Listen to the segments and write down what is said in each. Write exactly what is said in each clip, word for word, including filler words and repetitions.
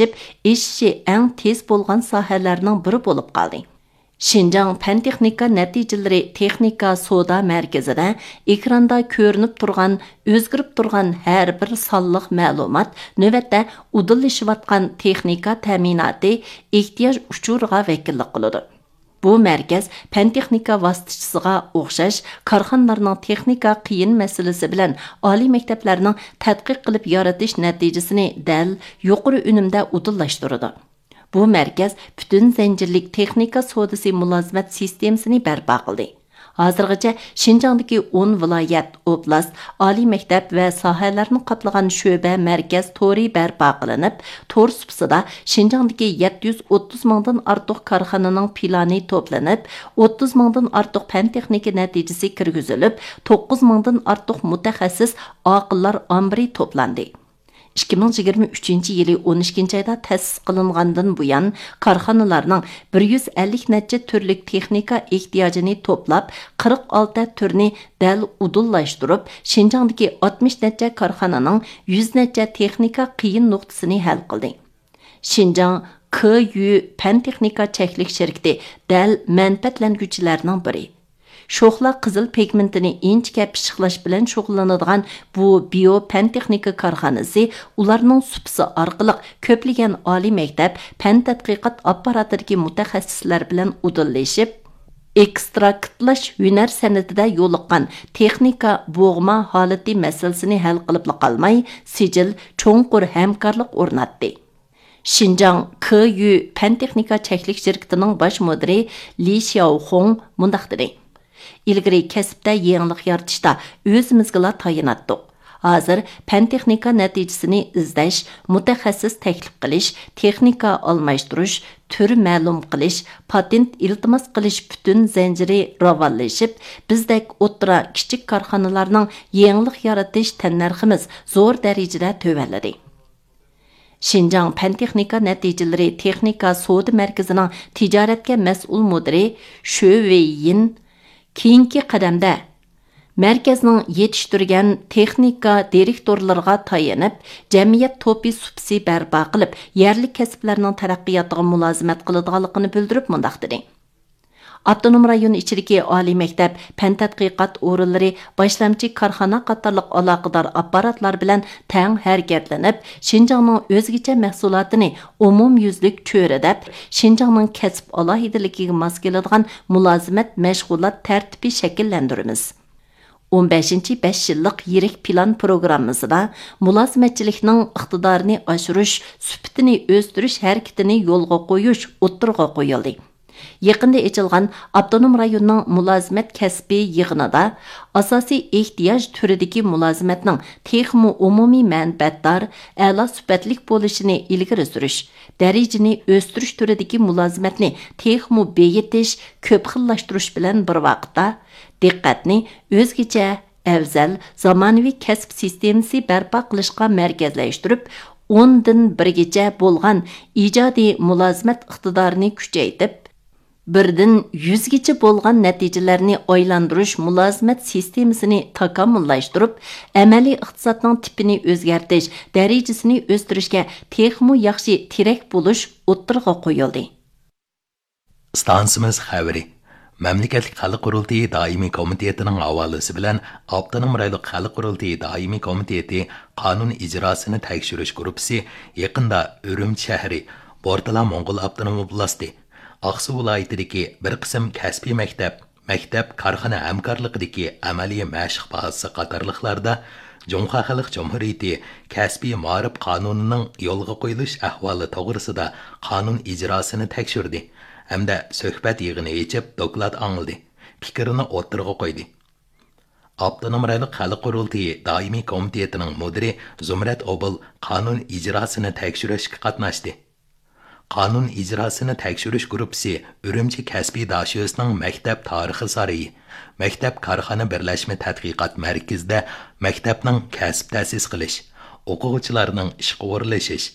ئېشىشى ئەڭ تېز بولغان ساھەلەرنىڭ بىرى بولۇپ قالدى. شىنجاڭ پەن تېخنىكا نەتىجىلىرى تېخنىكا سودا مەركىزىدە ئېكراندا كۆرۈنۈپ تۇرغان، ئۆزگىرىپ تۇرغان ھەر بىر سانلىق مەلۇمات نۆۋەتتە ئۇدۇللىشىۋاتقان تېخنىكا تەمىناتى ئېھتىياج ئۇچۇرىغا ۋەكىللىك قىلىدۇ. بۇ مەركەز پەن تېخنىكا ۋاسىتىچىسىغا ئوخشاش كارخانىلارنىڭ تېخنىكا قىيىن مەسىلىسى بىلەن ئالىي مەكتەپلەرنىڭ تەتقىق قىلىپ يارىتىش نەتىجىسىنى دەل يۇقىرى ئۈنۈمدە ئۇدۇللاشتۇرىدۇ. بۇ مەركەز پۈتۈن زەنجىرلىك تېخنىكا سودىسى مۇلازىمەت سىستېمىسىنى بەرپا قىلدى. ھازىرغىچە شىنجاڭدىكى ئون ۋىلايەت، ئوبلاست، ئالىي مەكتەپ ۋە ساھەلەرنى قاپلىغان شۆبە مەركەز تورى بەرپا قىلىنىپ، تور سۇپىسىدا شىنجاڭدىكى يەتتە يۈز ئوتتۇز مىڭدىن ئارتۇق كارخانىنىڭ پىلانى توپلىنىپ، ئوتتۇز مىڭدىن ئارتۇق پەن تېخنىكا نەتىجىسى كىرگۈزۈلۈپ، توققۇز مىڭدىن ئارتۇق مۇتەخەسسىس ئاقىللار ئامبىرى توپلاندى. ئىككى مىڭ يىگىرمە ئۈچىنچى يىلى ئون ئىككىنچى ئايدا تەسىس قىلىنغاندىن بۇيان، كارخانىلارنىڭ بىر يۈز ئەللىك نەچچە تۈرلۈك تېخنىكا ئېھتىياجىنى توپلاپ، قىرىق ئالتە تۈرنى دەل ئۇدۇللاشتۇرۇپ، شىنجاڭدىكى ئاتمىش نەچچە كارخانىنىڭ يۈز نەچچە تېخنىكا قىيىن نۇقتىسىنى ھەل قىلدى. شىنجاڭ كيۇ پەن تېخنىكا چەكلىك شىركىتى دەل مەنپەئەتلەنگۈچىلەرنىڭ بىرى. شوخلا قىزىل پىگمېنتىنى ئىنچىكە پىششىقلاش بىلەن شۇغۇللىنىدىغان بۇ بىيو پەن تېخنىكا كارخانىسى ئۇلارنىڭ سۇپىسى ئارقىلىق كۆپلىگەن ئالىي مەكتەپ، پەن تەتقىقات ئاپپاراتىدىكى مۇتەخەسسىسلەر بىلەن ئۇدۇللىشىپ، ئېكستراكتلاش ھۈنەر سەنئىتىدە يولۇققان تېخنىكا بوغما ھالىتى مەسىلىسىنى ھەل قىلىپلا قالماي، سىجىل چوڭقۇر ھەمكارلىق ئورناتتى. شىنجاڭ كيۇ پەن تېخنىكا چەكلىك شىركىتىنىڭ باش مۇدىرى لى شياۋخۇڭ مۇنداق دېدى: «ئىلگىرى كەسىپتە يېڭىلىق يارىتىشتا ئۆزىمىزگىلا تايىناتتۇق. ھازىر پەن تېخنىكا نەتىجىسىنى ئىزدەش، مۇتەخەسسىس تەكلىپ قىلىش، تېخنىكا ئالماشتۇرۇش، تۈر مەلۇم قىلىش، پاتېنت ئىلتىماس قىلىش پۈتۈن زەنجىرى راۋانلىشىپ، بىزدەك ئوتتۇرا، كىچىك كارخانىلارنىڭ يېڭىلىق يارىتىش تەننەرخىمىز زور دەرىجىدە تۆۋەنلىدى.» شىنجاڭ پەن تېخنىكا نەتىجىلىرى تېخنىكا سودا مەركىزىنىڭ تىجارەتكە مەسئۇل مۇدىرى شۆ ۋېييىن كېيىنكى قەدەمدە مەركەزنىڭ يېتىشتۈرگەن تېخنىكا دىرېكتورلىرىغا تايىنىپ، جەمئىيەت توپى سۇپىسى بەرپا قىلىپ، يەرلىك كەسىپلەرنىڭ تەرەققىياتىغا مۇلازىمەت قىلىدىغانلىقىنى بىلدۈرۈپ مۇنداق دېدى: ئاپتونوم رايون ئىچىدىكى ئالىي مەكتەپ، پەن تەتقىقات ئورۇنلىرى، باشلامچى كارخانا قاتارلىق ئالاقىدار ئاپپاراتلار بىلەن تەڭ ھەرىكەتلىنىپ، شىنجاڭنىڭ ئۆزگىچە مەھسۇلاتىنى ئومۇميۈزلۈك چۆرىدەپ، شىنجاڭنىڭ كەسىپ ئالاھىدىلىكىگە ماس كېلىدىغان مۇلازىمەت مەشغۇلات تەرتىپى شەكىللەندۈرىمىز. ئون بەشىنچى بەش يىللىق يىرىك پىلان پروگراممىسىدا مۇلازىمەتچىلىكنىڭ ئىقتىدارىنى ئاشۇرۇش، سۈپىتىنى ئۆستۈرۈش ھەرىكىتىنى يولغا قويۇش ئوتتۇرىغا قويۇلدى. يېقىندا ئېچىلغان ئاپتونوم رايوننىڭ مۇلازىمەت كەسپى يىغىنىدا ئاساسىي ئېھتىياج تۈرىدىكى مۇلازىمەتنىڭ تېخىمۇ ئومۇمىي مەنپەئەتدار، ئەلا سۈپەتلىك بولۇشىنى ئىلگىرى سۈرۈش، دەرىجىنى ئۆستۈرۈش تۈرىدىكى مۇلازىمەتنى تېخىمۇ بېيىتىش، كۆپ خىللاشتۇرۇش بىلەن بىر ۋاقىتتا، دىققەتنى ئۆزگىچە، ئەۋزەل، زامانىۋى كەسىپ سىستېمىسى بەرپا قىلىشقا مەركەزلەشتۈرۈپ، ئوندىن بىرگىچە بولغان ئىجادىي مۇلازىمەت ئىقتىدارىنى كۈچەيتىپ، بىردىن يۈزگىچە بولغان نەتىجىلەرنى ئايلاندۇرۇش مۇلازىمەت سىستېمىسىنى تاكامۇللاشتۇرۇپ، ئەمەلىي ئىقتىسادنىڭ تىپىنى ئۆزگەرتىش، دەرىجىسىنى ئۆستۈرۈشكە تېخىمۇ ياخشى تىرەك بولۇش ئوتتۇرىغا قويۇلدى. ئىستانسىمىز خەۋىرى. مەملىكەتلىك خەلق قۇرۇلتىيى دائىمىي كومىتېتىنىڭ ھاۋالىسى بىلەن ئاپتونوم رايونلۇق خەلق قۇرۇلتىيى دائىمىي كومىتېتى قانۇن ئىجراسىنى تەكشۈرۈش گۇرۇپپىسى يېقىندا ئۈرۈمچى شەھىرى، بورتالا موڭغۇل ئاپتونوم ئوبلاستى، ئاقسۇ ۋىلايىتىدىكى بىر قىسىم كەسپىي مەكتەپ، مەكتەپ، كارخانا ھەمكارلىقىدىكى ئەمەلىي مەشىق بازىسى قاتارلىقلاردا جۇڭخۇا خەلق جۇمھۇرىيىتى كەسپىي مائارىپ قانۇنىنىڭ يولغا قويۇلۇش ئەھۋالى توغرىسىدا قانۇن ئىجراسىنى تەكشۈردى ھەمدە سۆھبەت يىغىنى ئېچىپ، دوكلات ئاڭلىدى، پىكرىنى ئوتتۇرىغا قويدى. ئاپتونوم رايونلۇق خەلق قۇرۇلتىيى دائىمىي كومىتېتىنىڭ مۇدىرى زۇمرەت ئوبۇل قانۇن ئىجراسىنى تەكشۈرۈشكە قاتناشتى. قانۇن ئىجراسىنى تەكشۈرۈش گۇرۇپپىسى ئۈرۈمچى كەسپىي داشۆسىنىڭ مەكتەپ تارىخى سارىيى، مەكتەپ كارخانا بىرلەشمە تەتقىقات مەركىزىدە مەكتەپنىڭ كەسىپ تەسىس قىلىش، ئوقۇغۇچىلارنىڭ ئىشقا ئورۇنلىشىش،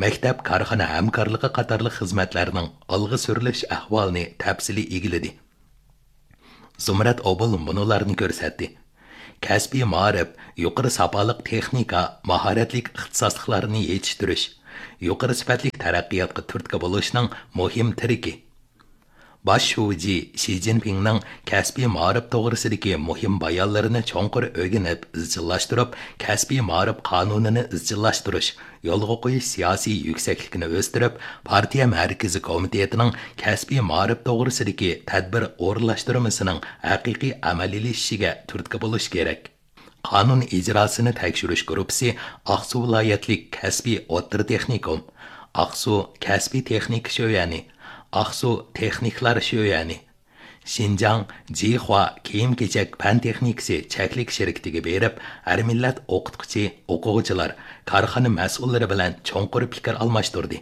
مەكتەپ كارخانا ھەمكارلىقى قاتارلىق خىزمەتلەرنىڭ ئالغا سۈرۈلۈش ئەھۋالىنى تەپسىلىي ئىگىلىدى. زۇمرەت ئوبۇل مۇنۇلارنى كۆرسەتتى: كەسپىي مائارىپ، يۇقىرى ساپالىق تېخنىكا، ماھارەتلىك ئىختىساسلىقلارنى يېتىشتۈرۈش، يۇقىرى سۈپەتلىك تەرەققىياتقا تۈرتكە بولۇشنىڭ مۇھىم تىرىكى. باش شۇجى شى جىنپىڭنىڭ كەسپىي مائارىپ توغرىسىدىكى مۇھىم بايانلىرىنى چوڭقۇر ئۆگىنىپ ئىزچىللاشتۇرۇپ، كەسپىي مائارىپ قانۇنىنى ئىزچىللاشتۇرۇش، يولغا قويۇش سىياسىي يۈكسەكلىكىنى ئۆستۈرۈپ، پارتىيە مەركىزىي كومىتېتىنىڭ كەسپىي مائارىپ توغرىسىدىكى تەدبىر ئورۇنلاشتۇرمىسىنىڭ ھەقىقىي ئەمەلىيلىشىشىگە تۈرتكە بولۇش كېرەك. قانۇن ئىجراسىنى تەكشۈرۈش گۇرۇپپىسى ئاقسۇ ۋىلايەتلىك كەسپىي ئوتتۇرا تېخنىكوم، ئاقسۇ كەسپىي تېخنىكا شۆيەنى، ئاقسۇ تېخنىكلار شۆيەنى، شىنجاڭ جىخۇا كىيىم-كېچەك پەن تېخنىكىسى چەكلىك شىركىتىگە بېرىپ، ھەر مىللەت ئوقۇتقۇچى، ئوقۇغۇچىلار، كارخانا مەسئۇللىرى بىلەن چوڭقۇر پىكىر ئالماشتۇردى.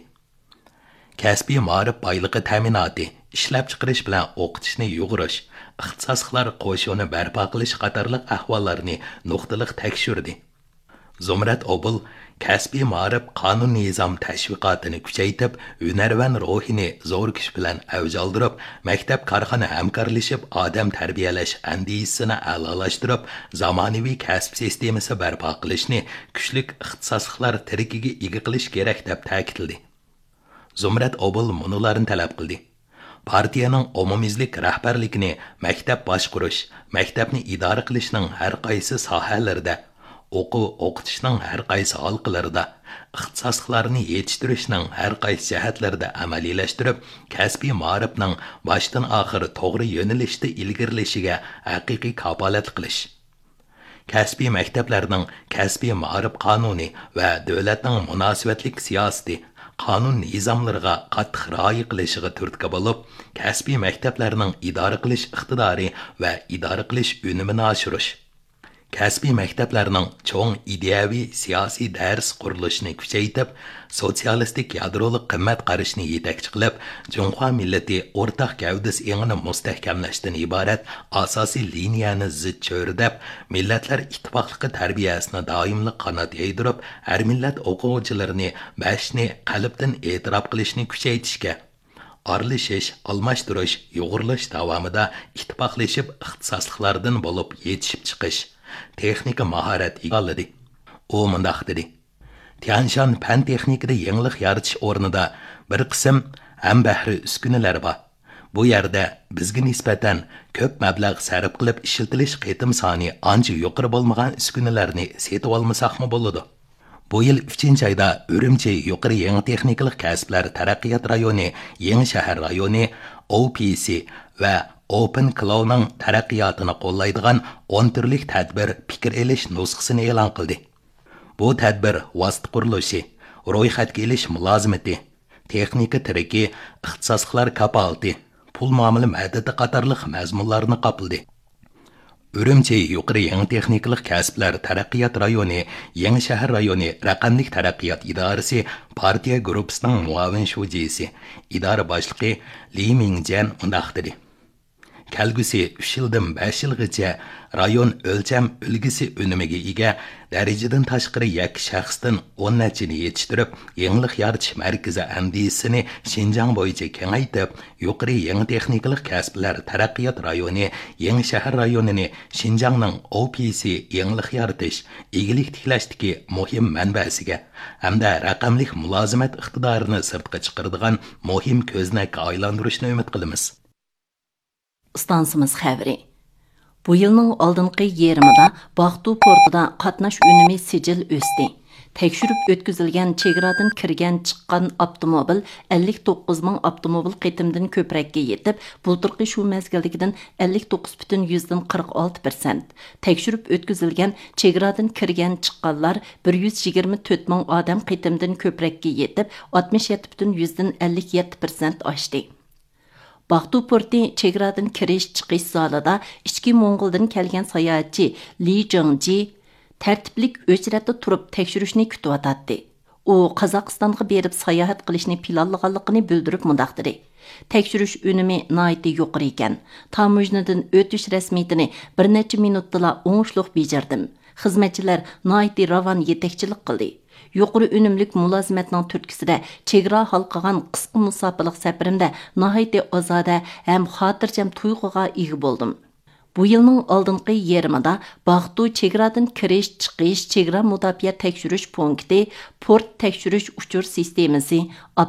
كەسپىي مائارىپ بايلىقى تەمىناتى، ئىشلەپچىقىرىش بىلەن ئوقۇتۇشنى يۇغۇرۇش، ئىختىساسلىقلار قوشۇنى بەرپا قىلىش قاتارلىق ئەھۋاللارنى نۇقتىلىق تەكشۈردى. زۇمرەت ئوبۇل كەسپىي مائارىپ قانۇن نىزام تەشۋىقاتىنى كۈچەيتىپ، ھۈنەرۋەن روھىنى زور كۈچ بىلەن ئەۋج ئالدۇرۇپ، مەكتەپ كارخانا ھەمكارلىشىپ ئادەم تەربىيەلەش ئەندىزىسىنى ئەلالاشتۇرۇپ، زامانىۋى كەسىپ سىستېمىسى بەرپا قىلىشنى كۈچلۈك ئىختىساسلىقلار تىرىكىگە ئىگە قىلىش كېرەك، دەپ تەكىتلىدى. زۇمرەت ئوبۇل مۇنۇلارنى تەلەپ قىلدى. پارتىيەنىڭ ئومۇميۈزلۈك رەھبەرلىكىنى مەكتەپ باشقۇرۇش، مەكتەپنى ئىدارە قىلىشنىڭ ھەر قايسى ساھەلىرىدە، ئوقۇ ئوقۇتۇشنىڭ ھەر قايسى ھالقىلىرىدا، ئىختىساسلىقلارنى يېتىشتۈرۈشنىڭ ھەر قايسى جەھەتلىرىدە ئەمەلىيلەشتۈرۈپ، كەسپىي مائارىپنىڭ باشتىن ئاخىر توغرا يۆنىلىشتە ئىلگىرىلىشىگە ھەقىقىي كاپالەتلىك قىلىش. كەسپىي مەكتەپلەرنىڭ كەسپىي مائارىپ قانۇنى ۋە دۆلەتنىڭ مۇناسىۋەتلىك سىياسىتى، قانۇن نىزاملىرىغا قاتتىق رىئايە قىلىشىغا تۈرتكە بولۇپ، كەسپىي مەكتەپلەرنىڭ ئىدارە قىلىش ئىقتىدارى ۋە ئىدارە قىلىش ئۈنۈمىنى ئاشۇرۇش. كەسپىي مەكتەپلەرنىڭ چوڭ ئىدىيەۋى سىياسىي دەرس قۇرۇلۇشىنى كۈچەيتىپ، سوتسىيالىستىك يادرولۇق قىممەت قارىشىنى يېتەكچى قىلىپ، جۇڭخۇا مىللىتى ئورتاق گەۋدىسى ئېڭىنى مۇستەھكەملەشتىن ئىبارەت ئاساسىي لىنىيەنى زىچ چۆرىدەپ، مىللەتلەر ئىتتىپاقلىقى تەربىيەسىنى دائىملىق قانات يايدۇرۇپ، ھەر مىللەت ئوقۇغۇچىلىرىنى بەشنى قەلبتىن ئېتىراپ قىلىشنى كۈچەيتىشكە، ئارىلىشىش، ئالماشتۇرۇش، يۇغۇرۇلۇش داۋامىدا ئىتتىپاقلىشىپ ئىختىساسلىقلاردىن بولۇپ يېتىشىپ چىقىش، تېخنىكا ماھارەت ئىگىلىدى. ئۇ مۇنداق دېدى: تيەنشان پەن تېخنىكىدا يېڭىلىق يارىتىش ئورنىدا بىر قىسىم ھەمبەھرە ئۈسكۈنىلەر بار. بۇ يەردە بىزگە نىسبەتەن كۆپ مەبلەغ سەرپ قىلىپ ئىشلىتىلىش قېتىم سانى ئانچە يۇقىرى بولمىغان ئۈسكۈنىلەرنى سېتىۋالمىساقمۇ بولىدۇ. بۇ يىل ئۈچىنچى ئايدا ئۈرۈمچى يۇقىرى يېڭى تېخنىكىلىق كەسىپلەر تەرەققىيات رايونى، يېڭى شەھەر رايونى، ئو پى سى ۋە ئوپېن كلاۋنىڭ تەرەققىياتىنى قوللايدىغان ئون تۈرلۈك تەدبىر پىكىر ئېلىش نۇسخىسىنى ئېلان قىلدى. بۇ تەدبىر ۋاسىتە قۇرۇلۇشى، رويخەتكە ئېلىش مۇلازىمىتى، تېخنىكا تىرىكى، ئىختىساسلىقلار كاپالىتى، پۇل مۇئامىلە مەدىتى قاتارلىق مەزمۇنلارنى قاپلىدى. ئۈرۈمچى يۇقىرى يېڭى تېخنىكىلىق كەسىپلەر تەرەققىيات رايونى، يېڭى شەھەر رايونى رەقەملىك تەرەققىيات ئىدارىسى پارتىيە گۇرۇپپىسىنىڭ مۇئاۋىن شۇجىسى، ئىدارە باشلىقى لى مىڭجيەن مۇنداق دېدى: كەلگۈسى ئۈچ يىلدىن بەش يىلغىچە رايون ئۆلچەم ئۈلگىسى ئۈنۈمىگە ئىگە، دەرىجىدىن تاشقىرى يەككە شەخستىن ئون نەچچىنى يېتىشتۈرۈپ، يېڭىلىق يارىتىش مەركىزى ئەندىزىسىنى شىنجاڭ بويىچە كېڭەيتىپ، يۇقىرى يېڭى تېخنىكىلىق كەسىپلەر تەرەققىيات رايونى، يېڭى شەھەر رايونىنى شىنجاڭنىڭ ئو پى سى يېڭىلىق يارىتىش، ئىگىلىك تىكلەشتىكى مۇھىم مەنبەسىگە ھەمدە رەقەملىك مۇلازىمەت ئىقتىدارىنى سىرتقا چىقىرىدىغان مۇھىم كۆزنەككە ئايلاندۇرۇشنى ئۈمىد قىلىمىز. ئىستانسىمىز خەۋىرى. بۇ يىلنىڭ ئالدىنقى يېرىمىدا باقتۇ پورتىدا قاتناش ئۈنۈمى سىجىل ئۆستى. تەكشۈرۈپ ئۆتكۈزۈلگەن چېگرادىن كىرگەن چىققان ئاپتوموبىل ئەللىك توققۇز مىڭ ئاپتوموبىل قېتىمدىن كۆپرەككە يېتىپ، بۇلتۇرقى شۇ مەزگىلدىكىدىن ئەللىك توققۇز پۈتۈن يۈزدىن قىرىق ئالتە پىرسەنت. تەكشۈرۈپ ئۆتكۈزۈلگەن چېگرادىن كىرگەن چىققانلار بىر يۈز يىگىرمە تۆت مىڭ ئادەم قېتىمدىن كۆپرەككە يېتىپ، ئاتمىش يەتتە پۈتۈن يۈزدىن ئەللىك يەتتە پىرسەنت ئاشتى. باقتۇ پورتى چېگرادىن كىرىش، چىقىش زالىدا ئىچكى موڭغۇلدىن كەلگەن ساياھەتچى لى جېڭجى تەرتىپلىك ئۆچرەتتە تۇرۇپ تەكشۈرۈشنى كۈتۈۋاتاتتى. ئۇ قازاقىستانغا بېرىپ ساياھەت قىلىشنى پىلانلىغانلىقىنى بىلدۈرۈپ مۇنداق دېدى: تەكشۈرۈش ئۈنۈمى ناھايىتى يۇقىرى ئىكەن. تاموژنىدىن ئۆتۈش رەسمىيىتىنى بىر نەچچە مىنۇتتىلا ئوڭۇشلۇق بېجىردىم. خىزمەتچىلەر ناھايىتى راۋان يېتەكچىلىك قىلدى. يۇقىرى ئۈنۈملۈك مۇلازىمەتنىڭ تۈرتكىسىدە چېگرا ھالقىغان قىسقا مۇساپىلىق سەپىرىمدە ناھايىتى ئازادە ھەم خاتىرجەم تۇيغۇغا ئىگە بولدۇم. بۇ يىلنىڭ ئالدىنقى يېرىمىدا باغتۇ چېگرادىن كىرىش، چىقىش، چېگرا مۇداپىئە تەكشۈرۈش پونكىتى، پورت تەكشۈرۈش ئۇچۇر سىستېمىسى،